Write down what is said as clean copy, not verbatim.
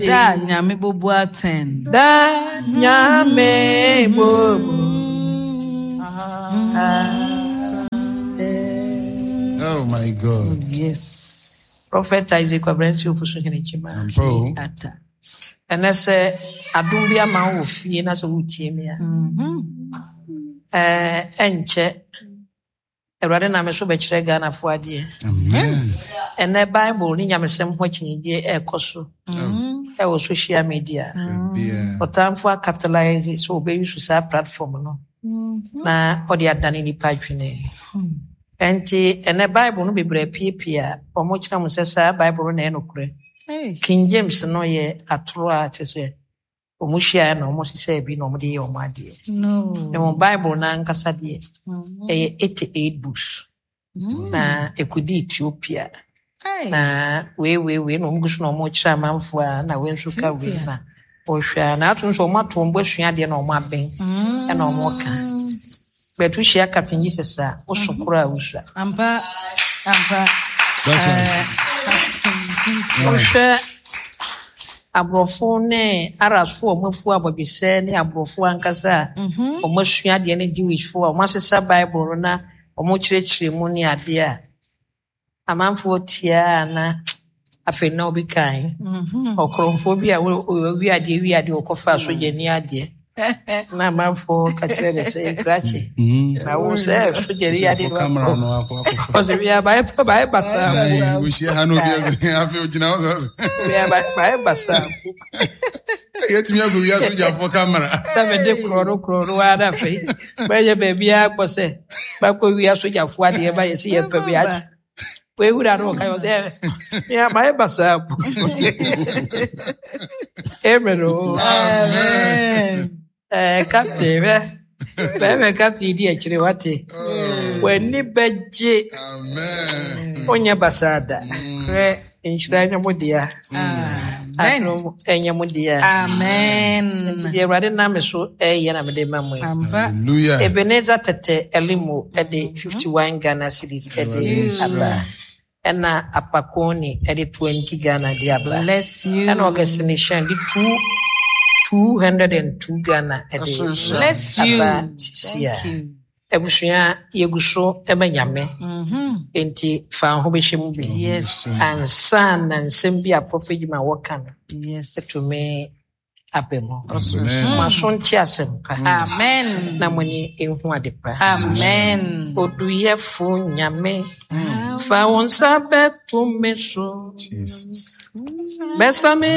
Da Nyame bobu atɛn. Da Nyame bobu atɛn. Oh my God. Yes. Prophet Isaac Kwabena Ofosu Hene Kyima. Ampa o. Ata. Ɛnɛ sɛ adom bi ama wo wɔ fie na sɛ wotie me a, ɛnkyɛ Awurade nam me so bɛkyerɛ Ghanafoɔ adeɛ. Amen. Ɛnɛ Bible ne nyamesɛm ho akyinnyegyeɛ ɛrekɔ so ɛwɔ social media. Ɔtamfo acapitalise sɛ ɔbɛyi saa platform no na ɔde adane nipa adwene. Ɛnti ɛnɛ Bible no bebree apiepie a wɔkyerɛ mo sɛ saa Bible no na ɛyɛ nokorɛ. King James no yɛ atoro a kyerɛ sɛ wɔn hyiaeɛ na wɔn hyehyɛɛ bi na wɔn de yɛ wɔn adeɛ. Na wɔn Bible no ankasa deɛ ɛyɛ 88 books na ɛkɔdi Ethiopia na wei wei wei na wɔn gu so na wɔn kyerɛ amanfoɔ a na wei nso ka wei na wɔhwɛ a na ato nso wɔn ato wɔn bo asua adeɛ na wɔn abɛn ɛna wɔn ka. Bɛto hyia Captain Jesus a woso koro a wosua. Ampa, ampa. That's right. Captain Jesus. Wohwɛ aborɔfo ne Arabsfo a wɔafu abɔdwesɛ ne aborɔfo ankasa a wɔasua adeɛ ne Jewishfo a wɔasesa Bible no na wɔkyerɛkyerɛ mu ne adeɛ a amanfoɔ tiaa na afei na obi kan ɔkorɔmfoɔ bi a ɔwi adeɛ wi adeɛ ɔkɔfa sogyani adeɛ na amanfoɔ ka kyerɛ ne sɛ krakye na wo sɛ sogyani adeɛ no Camera no akɔ akɔfa. ɔsɛ wia bayɛ bayɛ basaa Ayi, wohyia ha na obi ase afei ogyina hɔ sɛ wia bayɛ basaa yɛtumi akɔ wia sogyafoɔ camera. Sɛ mede korɔ no korɔ no ara na afei bɛyɛ baabiara kɔ sɛ bɛkɔ wia sogyafoɔ adeɛ ba yɛsi yɛn fɛ bi akye wei wura no ɔka yɛ sɛ mea mayɛ basaa po. Amen o. Amen. Captain bɛ bɛrɛ captain di akyire wate w'ani bɛgye. Amen. Wonyɛ basaa da. Korɛ. Nhyira nyɛ mo dea. Amen. Adom ɛnyɛ mo dea. Amen. Nti deɛ Awurade nam me so ɛyɛ na mede ma mo yi. Ampa. Hallelujah. Ebenezer Tete Elimo ɛde 51 Ghana cedis ɛde aba. Ɛna Apakoni ɛde 20 Ghana de aba. Bless you. Ɛna Augustine Shan de 202 Ghana ɛde Bless you. aba sisi a. Thank you. Abusua yɛgu so ɛma Nyame. Enti fa wo ho bɛhyɛ mu bi. Yes. Ansa na nsɛm bi a Prophet Juma wɔka no Yes. ɛtumi aba mu. Amen. Mo aso nte asɛm pa. Amen. Na mo ani nhu ade pa. Amen. Oduyɛfo Nyame, fa wo nsa bɛto me so. Jesus. Bɛsa me